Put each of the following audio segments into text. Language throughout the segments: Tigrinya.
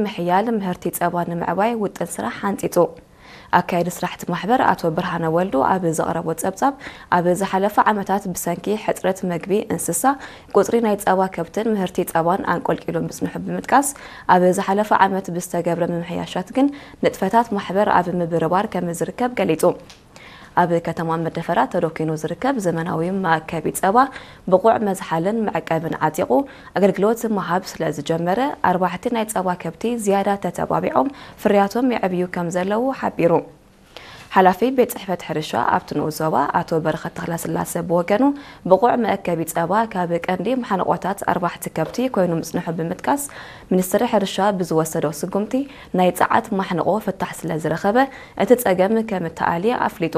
ምሕያል ምህርቲ ጸባ ንምዕባይ ውጥን ስራሕ ሓንጺጹ። ኣካያዲ ስራሕቲ ማሕበር ኣቶ ብርሃነ ወልዱ ኣብ ዘቕረቦ ጸብጻብ፣ ኣብ ዝሓለፈ ዓመታት ብሰንኪ ሕጽረት መግቢ እንስሳ፣ ቁጽሪ ናይ ጸባ ከብትን ምህርቲ ጸባን ኣንቆልቂሉ ምጽንሑ ብምጥቃስ፣ ኣብ ዝሓለፈ ዓመት ብዝተገብረ ምምሕያሻት ግን ንጥፈታት ማሕበር ኣብ ምብርባር ከም ዝርከብ ገሊጹ። ኣብ ከተማ መደፈራ ተደኪኑ ዝርከብ ዘመናዊ መኣከቢ ጸባ ብቑዕ መዝሓልን መዕቀብን ዓጢቑ ኣገልግሎት ምሃብ ስለ ዝጀመረ፣ ኣርባሕቲ ናይ ጸባ ከብቲ ዝያዳ ተተባቢዖም ፍርያቶም የዕብዩ ከም ዘለዉ ሓቢሩ። ሓላፊ ቤት ጽሕፈት ሕርሻ ኣብቲ ንኡስ ዞባ ኣቶ በረኸት ተኽለስላሰ ብወገኑ፣ ብቑዕ መእከቢ ጸባ ካብ ቀንዲ ማሕንቆታት ኣርባሕቲ ከብቲ ኮይኑ ምጽንሑ ብምጥቃስ፣ ሚኒስትሪ ሕርሻ ብዝወሰዶ ስጉምቲ ናይ ጸዓት ማሕንቆ ፍታሕ ስለ ዝረኸበ፣ እቲ ጸገም ከም እተኣልየ ኣፍሊጡ።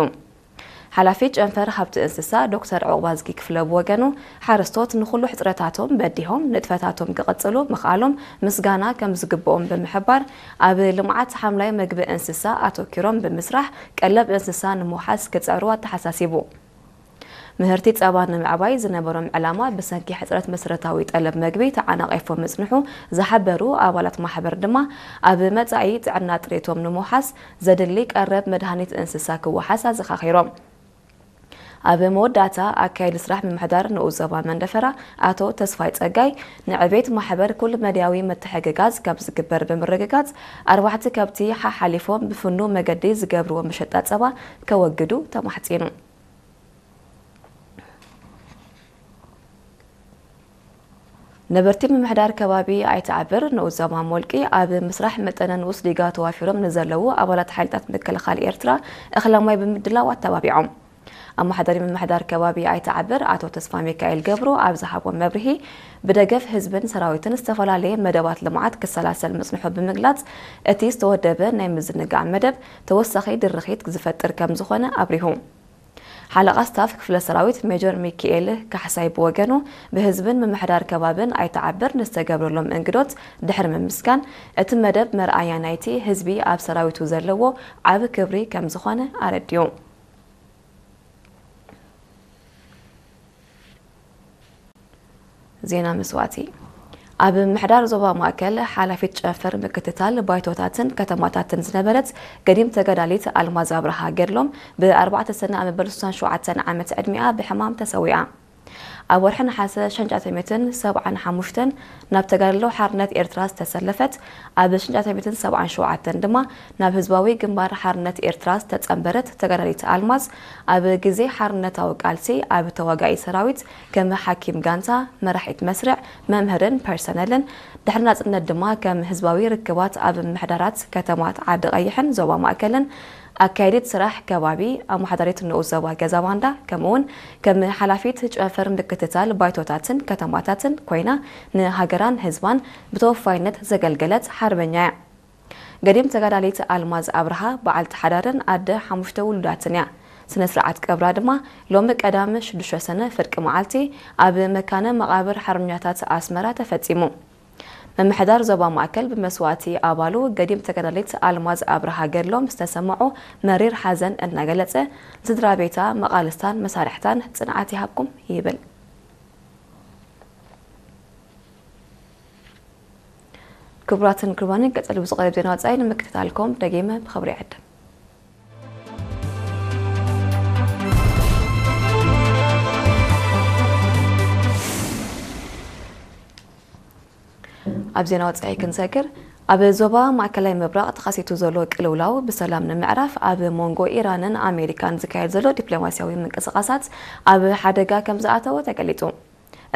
ሓላፊ ጨንፈር ሃብቲ እንስሳ ዶክተር ዑቕባዝጊ ክፍለ ብወገኑ፣ ሓረስቶት ንኹሉ ሕጽረታቶም በዲሆም ንጥፈታቶም ክቕጽሉ ምኽኣሎም ምስጋና ከም ዝግብኦም ብምሕባር፣ ኣብ ልምዓት ሓምላይ መግቢ እንስሳ ኣተኪሮም ብምስራሕ ቀለብ እንስሳ ንምውሓስ ክጽዕሩ ኣተሓሳሲቡ። ምህርቲ ጸባ ንምዕባይ ዝነበሮም ዕላማ ብሰንኪ ሕጽረት መሰረታዊ ጠለብ መግቢ ተዓናቒፉ ምጽንሑ ዝሓበሩ ኣባላት ማሕበር ድማ፣ ኣብ መጻኢ ጥዕና ጥሬቶም ንምውሓስ ዘድሊ ቀረብ መድሃኒት እንስሳ ክወሓስ ኣዘኻኺሮም። ኣብ መወዳእታ፣ ኣካያዲ ስራሕ ምምሕዳር ንኡስ ዞባ መንደፈራ ኣቶ ተስፋይ ጸጋይ፣ ንዕቤት ማሕበር ኩሉ መዳያዊ ምትሕግጋዝ ከም ዝግበር ብምርግጋጽ፣ ኣርባዕተ ከብቲ ሓሓሊፎም ብፍኑው መገዲ ዝገብርዎ መሸጣ ጸባ ከወግዱ ተማሕጺኑ። ነበርቲ ምምሕዳር ከባቢ ኣይትዓብር ንኡስ ዞባ ሞልቂ፣ ኣብ ምስራሕ መጠነ ንኡስ ዲጋ ተዋፊሮም ንዘለዉ ኣባላት ሓይልታት ምክልኻል ኤርትራ እኽለ ማይ ብምድላው ኣተባቢዖም። ኣመሓዳሪ ምምሕዳር ከባቢ ኣይትዓብር ኣቶ ተስፋ ሚካኤል ገብሩ ኣብ ዝሃቦ መብርሂ፣ ብደገፍ ህዝብን ሰራዊትን ዝተፈላለየ መደባት ልምዓት ክሰላሰል ምጽንሑ ብምግላጽ፣ እቲ ዝተወደበ ናይ ምዝንጋዕ መደብ ተወሳኺ ድርኺት ዝፈጥር ከም ዝኾነ ኣብሪሁ። ሓለቓ ስታፍ ክፍለ ሰራዊት ሜጀር ሚኪኤል ካሕሳይ ብወገኑ፣ ብህዝብን ምምሕዳር ከባብን ኣይትዓብር ንዝተገብረሎም እንግዶት ድሕሪ ምምስጋን፣ እቲ መደብ መርኣያ ናይቲ ህዝቢ ኣብ ሰራዊቱ ዘለዎ ዓቢ ክብሪ ከም ዝኾነ ኣረዲኡ። ዜና መስዋእቲ። ኣብ ምሕዳር ዞባ ማእከል ሓላፊት ጨንፈር ምክትታል ባይቶታትን ከተማታትን ዝነበረት ገዲም ተጋዳሊት ኣልማዝ ኣብርሃ ገድሎም ብ ኣርባዕተ ሰነ ኣብ መበል ሱሳን ሸውዓተን ዓመት ዕድሚኣ ብሕማም ተሰዊኣ። ኣብ ወርሒ ነሓሰ ሽሕን ትሽዓተ ሚእትን ሰብዓን ሓሙሽተን ናብ ተጋድሎ ሓርነት ኤርትራ ዝተሰለፈት፣ ኣብ ሽሕን ትሽዓተ ሚእትን ሰብዓን ሸውዓተን ድማ ናብ ህዝባዊ ግንባር ሓርነት ኤርትራ ዝተጸንበረት ተጋዳሊት ኣልማዝ፣ ኣብ ግዜ ሓርነታዊ ቃልሲ ኣብ ተዋጋኢ ሰራዊት ከም ሓኪም ጋንታ፣ መራሒት መስርዕ፣ መምህርን ፐርሰነልን፣ ድሕሪ ናጽነት ድማ ከም ህዝባዊ ርክባት ኣብ ምምሕዳራት ከተማት ዓዲ ቀይሕን ዞባ ማእከልን ኣካያዲት ስራሕ ከባቢ ኣመሓዳሪት ንኡስ ዞባ ገዛ ባንዳ፣ ከምኡውን ከም ሓላፊት ጨንፈር ምክትታል ባይቶታትን ከተማታትን ኮይና ንሃገራን ህዝባን ብተወፋይነት ዘገልገለት ሓርበኛ እያ። ገዲም ተጋዳሊት ኣልማዝ ኣብርሃ በዓልቲ ሓዳርን ኣደ ሓሙሽተ ውሉዳትን እያ። ስነ ስርዓት ቀብራ ድማ ሎሚ ቀዳም ሽዱሽተ ሰነ ፍርቂ መዓልቲ ኣብ መካነ መቓብር ሓርበኛታት ኣስመራ ተፈጺሙ። ምምሕዳር ዞባ ማእከል ብመስዋእቲ ኣባሉ ገዲም ተጋዳሊት ኣልማዝ ኣብርሃ ገድሎም ዝተሰምዖ መሪር ሓዘን እናገለጸ፣ ንስድራ ቤታ፣ መቓልስታን መሳርሕታን ጽንዓት ይሃብኩም ይብል። ክቡራትን ክቡራንን፣ ቀጸሊ ብዝቐርብ ዜና ወጻኢ ንምክትታልኩም ደጊመ ብኽብሪ ይዕድም። ኣብ ዜና ወጻኢ ክንሰግር፣ ኣብ ዞባ ማእከላይ ምብራቕ ተኸሲቱ ዘሎ ቅልውላው ብሰላም ንምዕራፍ ኣብ መንጎ ኢራንን ኣሜሪካን ዝካየድ ዘሎ ዲፕሎማስያዊ ምንቅስቓሳት ኣብ ሓደጋ ከም ዝኣተወ ተገሊጹ።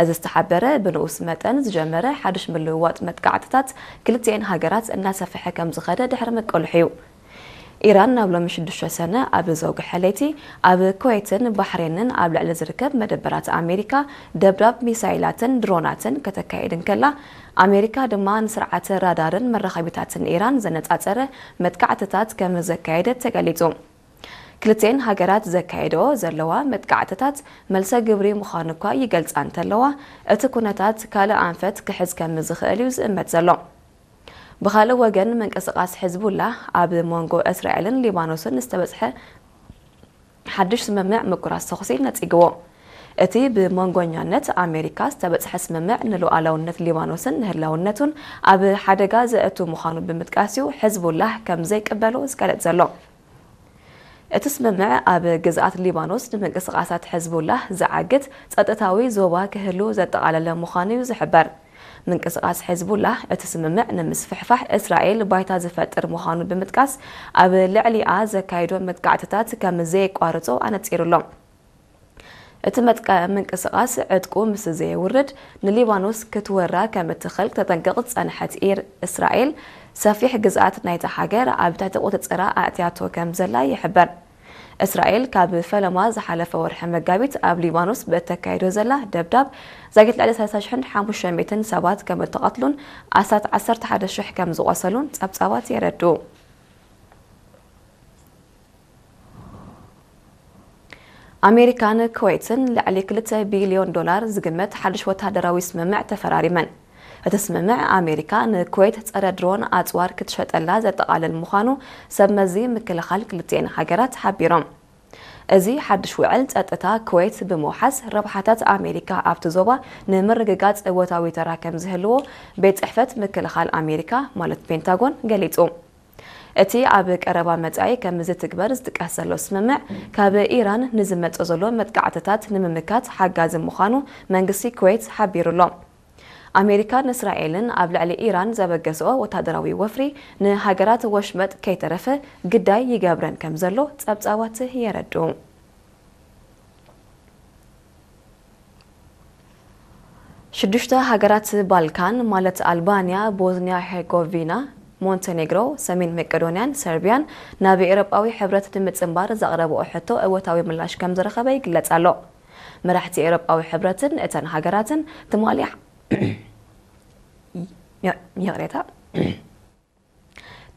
እዚ ዝተሓበረ ብንኡስ መጠን ዝጀመረ ሓድሽ ምልውዋጥ መጥቃዕትታት ክልቲኤን ሃገራት እናሰፍሐ ከም ዝኸደ ድሕሪ ምቅልሑ እዩ። ኢራን ናብ ሎሚ ሽዱሽተ ሰነ ኣብ ዘውግሐ ለይቲ ኣብ ኩዌትን ባሕሬንን ኣብ ልዕሊ ዝርከብ መደበራት ኣሜሪካ ደብዳብ ሚሳይላትን ድሮናትን ከተካይድ እንከላ፣ ኣሜሪካ ድማ ንስርዓተ ራዳርን መራኸቢታትን ኢራን ዘነጻጸረ መጥቃዕትታት ከም ዘካየደት ተገሊጹ። ክልቲኤን ሃገራት ዘካየደኦ ዘለዋ መጥቃዕትታት መልሰ ግብሪ ምዃኑ እኳ ይገልጻ እንተለዋ፣ እቲ ኩነታት ካልእ ኣንፈት ክሕዝ ከም ዝኽእል እዩ ዝእመት ዘሎ። ብኻልእ ወገን፣ ምንቅስቓስ ሕዝቡላህ ኣብ መንጎ እስራኤልን ሊባኖስን ዝተበጽሐ ሓድሽ ስምምዕ ምቁራጽ ተኹሲ ነጺግዎ። እቲ ብመንጎኛነት ኣሜሪካ ዝተበጽሐ ስምምዕ ንሉዓላውነት ሊባኖስን ንህላውነቱን ኣብ ሓደጋ ዘእቱ ምዃኑ ብምጥቃስ እዩ ሕዝቡላህ ከም ዘይቅበሎ ዝገለጽ ዘሎ። እቲ ስምምዕ ኣብ ግዝኣት ሊባኖስ ንምንቅስቓሳት ሕዝቡላህ ዝዓግት ጸጥታዊ ዞባ ክህሉ ዘጠቓለለ ምዃኑ እዩ ዝሕበር። ምንቅስቓስ ሕዝቡላህ እቲ ስምምዕ ንምስፍሕፋሕ እስራኤል ባይታ ዝፈጥር ምዃኑ ብምጥቃስ ኣብ ልዕሊኣ ዘካይዶ መጥቃዕትታት ከም ዘየቋርጾ ኣነጺሩሎ። እቲ መጥቀ ምንቅስቓስ ዕጥቁ ምስ ዘየውርድ ንሊባኖስ ክትወራ ከም እትኽእል ተጠንቅቕ ዝጸንሐት ኢር እስራኤል ሰፊሕ ግዝኣት ናይታ ሃገር ኣብ ትሕቲ ቁጽጽራ ኣእትያቶ ከም ዘላ ይሕበር። እስራኤል ካብ ፈለማ ዝሓለፈ ወርሒ መጋቢት ኣብ ሊባኖስ ብእተካይዶ ዘላ ደብዳብ ዛጊት ልዕሊ ሰላሳ ሽሕን ሓሙሽተ ሚእትን ሰባት ከም እተቐትሉን ኣስታት ዓሰርተ ሓደ ሽሕ ከም ዝቖሰሉን ጸብጻባት የረድኡ። ኣሜሪካን ኩዌትን ልዕሊ ክልተ ቢልዮን ዶላር ዝግመት ሓድሽ ወታደራዊ ስምምዕ ተፈራሪመን። እቲ ስምምዕ ኣሜሪካ ንኩዌት ጸረ ድሮን ኣጽዋር ክትሸጠላ ዘጠቓልል ምዃኑ ሰብ መዚ ምክልኻል ክልቲኤን ሃገራት ሓቢሮም። እዚ ሓድሽ ውዕል ጸጥታ ኩዌት ብምውሓስ ረብሓታት ኣሜሪካ ኣብቲ ዞባ ንምርግጋጽ እወታዊ ተራ ከም ዝህልዎ ቤት ጽሕፈት ምክልኻል ኣሜሪካ ማለት ፔንታጎን ገሊጹ። እቲ ኣብ ቀረባ መጻኢ ከም ዝትግበር ዝጥቀስ ዘሎ ስምምዕ ካብ ኢራን ንዝመጽእ ዘሎ መጥቃዕትታት ንምምካት ሓጋዚ ምዃኑ መንግስቲ ኩዌት ሓቢሩ ኣሎ። ኣሜሪካን እስራኤልን ኣብ ልዕሊ ኢራን ዘበገስኦ ወታደራዊ ወፍሪ ንሃገራት ወሽመጥ ከይተረፈ ግዳይ ይገብረን ከም ዘሎ ጸብጻባት የረድኡ። ሽዱሽተ ሃገራት ባልካን ማለት ኣልባንያ፣ ቦዝንያ ሄርጎቪና፣ ሞንቴኔግሮ፣ ሰሜን መቄዶንያን ሰርቢያን ናብ ኤውሮጳዊ ሕብረት ንምጽንባር ዘቕረብኦ ሕቶ እወታዊ ምላሽ ከም ዝረኸበ ይግለጽ ኣሎ። መራሕቲ ኤውሮጳዊ ሕብረትን እተን ሃገራትን ትማሊ ይቕሬታ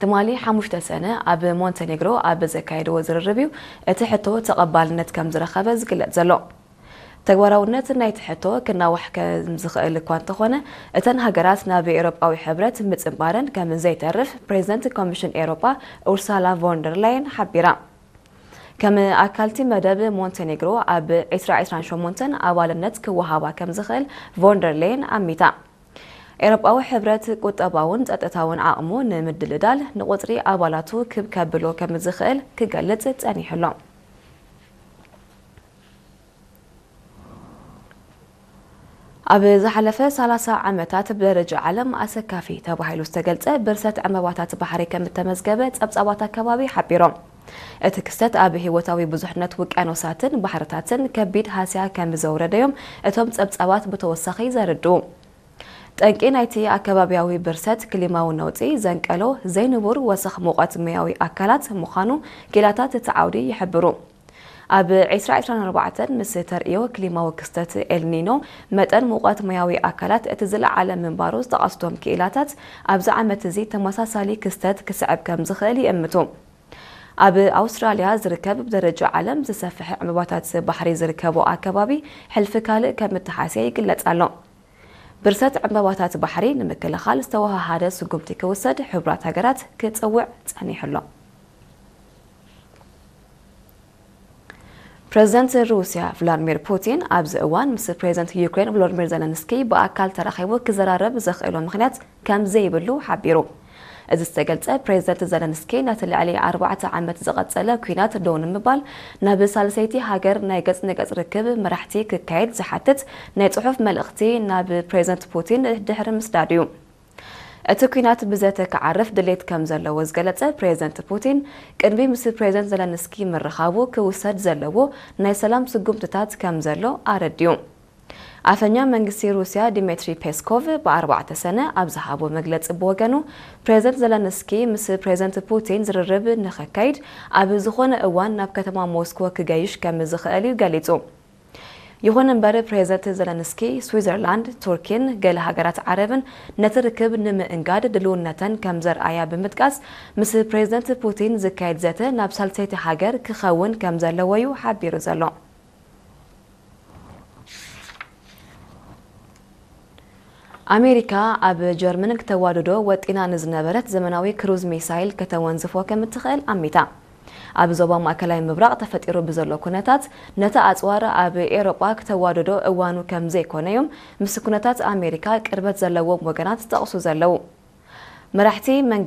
ትማሊ ሓሙሽተ ሰነ ኣብ ሞንቴኔግሮ ኣብ ዘካየድዎ ዝርርብ እዩ እቲ ሕቶ ተቐባልነት ከም ዝረኸበ ዝግለጽ ዘሎ። ተግባራውነት ናይቲ ሕቶ ክናዋሕ ከም ዝኽእል እኳ እንተኾነ፣ እተን ሃገራት ናብ ኤውሮጳዊ ሕብረት ምጽንባረን ከም ዘይተርፍ ፕሬዚደንት ኮሚሽን ኤውሮጳ ኡርሳላ ቮንደር ላየን ሓቢራ። ከም ኣካልቲ መደብ ሞንቴኔግሮ ኣብ ዕስራ ዕስራን ሸሞንተን ኣባልነት ክወሃባ ከም ዝኽእል ቮንደር ሌየን ኣሚታ። ኤውሮጳዊ ሕብረት ቁጠባውን ጸጥታውን ዓቕሙ ንምድልዳል ንቁጽሪ ኣባላቱ ክብ ከብሎ ከም ዝኽእል ክገልጽ ጸኒሑ ኣሎ። ኣብ ዝሓለፈ ሰላሳ ዓመታት ብደረጃ ዓለም ኣሰካፊ ተባሂሉ ዝተገልጸ ብርሰት ዕምባባታት ባሕሪ ከም እተመዝገበ ጸብጻባት ኣከባቢ ሓቢሮም። እቲ ክስተት ኣብ ህይወታዊ ብዙሕነት ውቅያኖሳትን ባሕርታትን ከቢድ ሃስያ ከም ዘውረደዮም እቶም ጸብጻባት ብተወሳኺ ዘርድኡ። ጠንቂ ናይቲ ኣከባብያዊ ብርሰት ክሊማዊ ነውጺ ዘንቀሎ ዘይንቡር ወሰኽ ሙቐት ማያዊ ኣካላት ምዃኑ ክኢላታት እቲ ዓውዲ ይሕብሩ። ኣብ ዕስራ ዕስራን ኣርባዕተን ምስ ተርእዮ ክሊማዊ ክስተት ኤልኒኖ፣ መጠን ሙቐት ማያዊ ኣካላት እቲ ዝለዓለ ምንባሩ ዝጠቐሱ እቶም ክኢላታት፣ ኣብዚ ዓመት እዚ ተመሳሳሊ ክስተት ክስዕብ ከም ዝኽእል ይእምቱ። ኣብ ኣውስትራልያ ዝርከብ ብደረጃ ዓለም ዝሰፍሐ ዕምባባታት ባሕሪ ዝርከቦ ኣከባቢ፣ ሕልፊ ካልእ ከም እተሓስየ ይግለጽ ኣሎ። ብርሰት ዕምባባታት ባሕሪ ንምክልኻል ዝተወሃሃደ ስጉምቲ ክውሰድ ሕቡራት ሃገራት ክጽውዕ ጸኒሑ ኣሎ። ፕሬዚደንት ሩስያ ቭላድሚር ፑቲን ኣብዚ እዋን ምስ ፕሬዚደንት ዩክሬን ቮሎዲሚር ዘለንስኪ ብኣካል ተራኺቡ ክዘራረብ ዘኽእሎ ምኽንያት ከም ዘይብሉ ሓቢሩ። እዚ ዝተገልጸ ፕሬዚደንት ዘለንስኪ ነቲ ልዕሊ ኣርባዕተ ዓመት ዝቐጸለ ኲናት ደው ንምባል ናብ ሳልሰይቲ ሃገር ናይ ገጽ ንገጽ ርክብ መራሕቲ ክካየድ ዝሓትት ናይ ጽሑፍ መልእኽቲ ናብ ፕሬዚደንት ፑቲን ድሕሪ ምስዳዱ እዩ። እቲ ኲናት ብዘተ ክዓርፍ ድሌት ከም ዘለዎ ዝገለጸ ፕሬዚደንት ፑቲን፣ ቅድሚ ምስ ፕሬዚደንት ዘለንስኪ ምርኻቡ ክውሰድ ዘለዎ ናይ ሰላም ስጉምትታት ከም ዘሎ ኣረዲኡ። ኣፈኛ መንግስቲ ሩስያ ዲሜትሪ ፔስኮቭ ብኣርባዕተ ሰነ ኣብ ዝሃቦ መግለጺ ብወገኑ፣ ፕሬዚደንት ዘለንስኪ ምስ ፕሬዚደንት ፑቲን ዝርርብ ንኸካይድ ኣብ ዝኾነ እዋን ናብ ከተማ ሞስኮ ክገይሽ ከም ዝኽእል እዩ ገሊጹ። ይኹን እምበር፣ ፕሬዚደንት ዘለንስኪ ስዊዘርላንድ፣ ቱርኪን ገለ ሃገራት ዓረብን ነቲ ርክብ ንምእንጋድ ድልውነተን ከም ዘርኣያ ብምጥቃስ፣ ምስ ፕሬዚደንት ፑቲን ዝካየድ ዘተ ናብ ሳልሰይቲ ሃገር ክኸውን ከም ዘለዎ እዩ ሓቢሩ ዘሎ። ኣሜሪካ ኣብ ጀርመን ክተዋድዶ ወጢና ንዝነበረት ዘመናዊ ክሩዝ ሚሳይል ከተወንዝፎ ከም እትኽእል ኣሚታ። ኣብ ዞባ ማእከላይ ምብራቕ ተፈጢሩ ብዘሎ ኩነታት፣ ነቲ ኣጽዋር ኣብ ኤውሮጳ ክተዋደዶ እዋኑ ከም ዘይኮነ እዮም ምስ ኩነታት ኣሜሪካ ቅርበት ዘለዎም ወገናት ዝጠቕሱ ዘለዉ። መራሕቲ መንግስቲ